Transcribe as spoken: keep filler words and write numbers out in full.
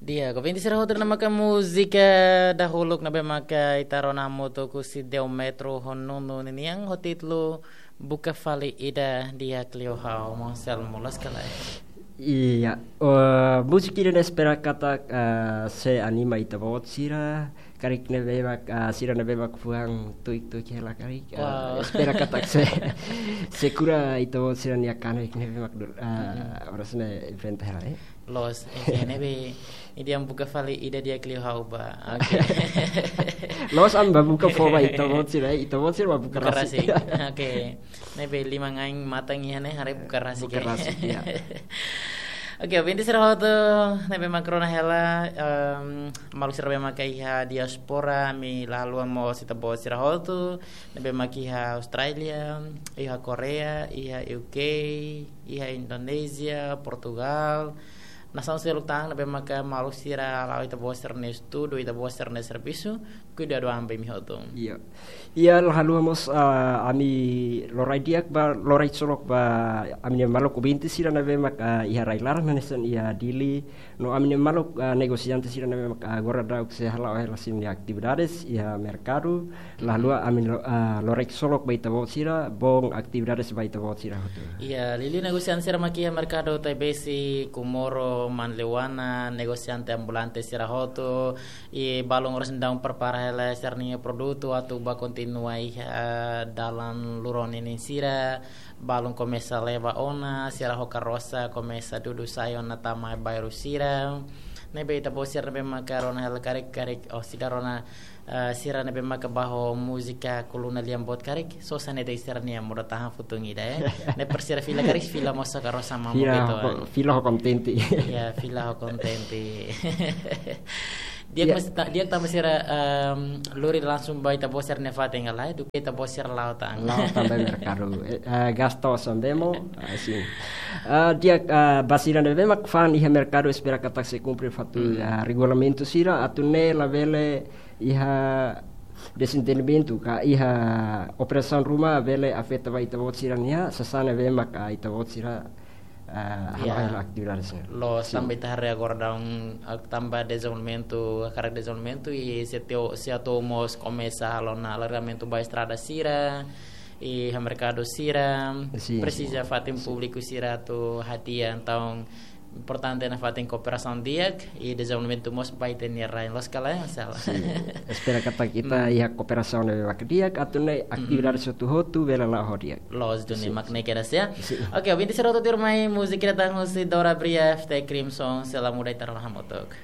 Di'ak, ouvinte sira hotu, ne'e maka múzika dahuluk ne'ebé maka ita rona hamutuk husi Deo Metro ho Nunu ninian ho títulu Buka Fali Ida, di'ak liu ha'u, Monsel Mulas kala. Iya, eh, múzika ida-ne'e espera katak, eh, sei anima ita-boot sira, karik ne'ebé mak, eh, sira ne'ebé mak fuan tuik-tuik hela karik, eh, Wow. espera katak sei, sei kura ita-boot sira-nia kanek ne'ebé mak dur-, eh, Mm-mm. oras ne'e enfrenta hela, eh. Loos, oke, ne'ebé, ida-ne'e buka fali ida di'ak liu ha'u ba. Oke. Loos, ami bá buka fó ba ita-boot sira, ita-boot sira bá buka Buka rasik. rasik. Oke. Ne'ebé liman ain matan iha ne'e haree buka rasik, Buka eh. rasik, iya. Oke, ouvinte sira hotu, ne'ebé mak rona hela, em, maluk sira ne'ebé maka iha diaspora, ami la haluha mós ita-boot sira hotu, ne'ebé mak iha Austrália, iha Korea, iha U K, iha Indonézia, Portugal, nasaun seluk tan ne'ebé maka maluk sira hala'o ita-boot sira-nia estudu, ita-boot sira-nia servisu, kuidadu an ba imi hotu. Iya. Iya, la haluha mós, ah, ami lori di'ak ba, lori ksolok ba, ami-nia maluk ouvinte sira ne'ebé mak, ah, iha rai-laran hanesan iha Dili, no ami-nia maluk, ah, negosiante sira ne'ebé mak, ah, agora daudaun sei hala'o hela sira-nia atividades iha merkadu, la haluha ami lo-, ah, lori ksolok ba ita-boot sira, boon atividades ba ita-boot sira hotu. Iya, liuliu negosiante sira mak iha merkadu Taibesi, Comoro, Manleuana, negosiante ambulante sira hotu, i balun oras daudaun prepara hela sira-nia produtu atu bá kontinua iha dalan lurón ninin sira, balun komesa leba ona, sira ho karosa komesa dudu sai ona tama bairru sira. Ne'ebé ita-boot sira ne'ebé maka rona hela karik-karik, oh, sira rona, eh, sira ne'ebé maka bá ho múzika koluna lian boot karik, sosa ne'e de'it sira-nia modo tahan futun ida, eh. Ne'e para sira fila karik, fila mós ho karosa mamuk Fila gitu, ho ko-, eh. fila ho kontente. Iya, fila ho kontente. Di'ak Iya. mas ta-, di'ak tanba sira, em, lori langsung ba ita-boot sira-nia fatin ka lae, duké ita-boot sira la'o tan. La'o tan ba merkadu. Eh, eh, gasta osan bemo, ah, sin. Ah, di'ak, ah, ba sira ne'ebé mak fa'an iha merkadu espera katak sei kumpre fatin, Hmm. ah, regulamentu sira, atu nune'e labele iha dezentendimentu, ka iha operasaun ruma bele afeta ba ita-boot sira-nia, sasán ne'ebé mak, ah, ita-boot sira, ah, Iya. hala'o hela atividades ne'e. Loos, Sin. tanba ita haree agora daudaun, ah, tanba dezenvolvimentu, hakarak dezenvolvimentu, i sei teo-, sei atu mós komesa halo ona alargamentu ba estrada sira, i iha merkadu sira, Sin, presiza sin. fatin Sin. públiku sira atu hadi'a, entaun, importante nafatin kooperasaun di'ak, i dezenvolvimentu mós ba ita-nia rain, loos ka lae, Monsel? Sin. Espera katak ita Hmm. iha kooperasaun ne'ebé mak di'ak, atu nune'e atividades Hmm. hotu-hotu bele la'o ho di'ak. Loos duni Sin, mak sin. ne'e kedas ya. Sin. Oke, ouvinte sira hotu, tuirmai múzika ida tan husi Dora Bria, F T Crimson, Sei La Muda, ita rona hamutuk.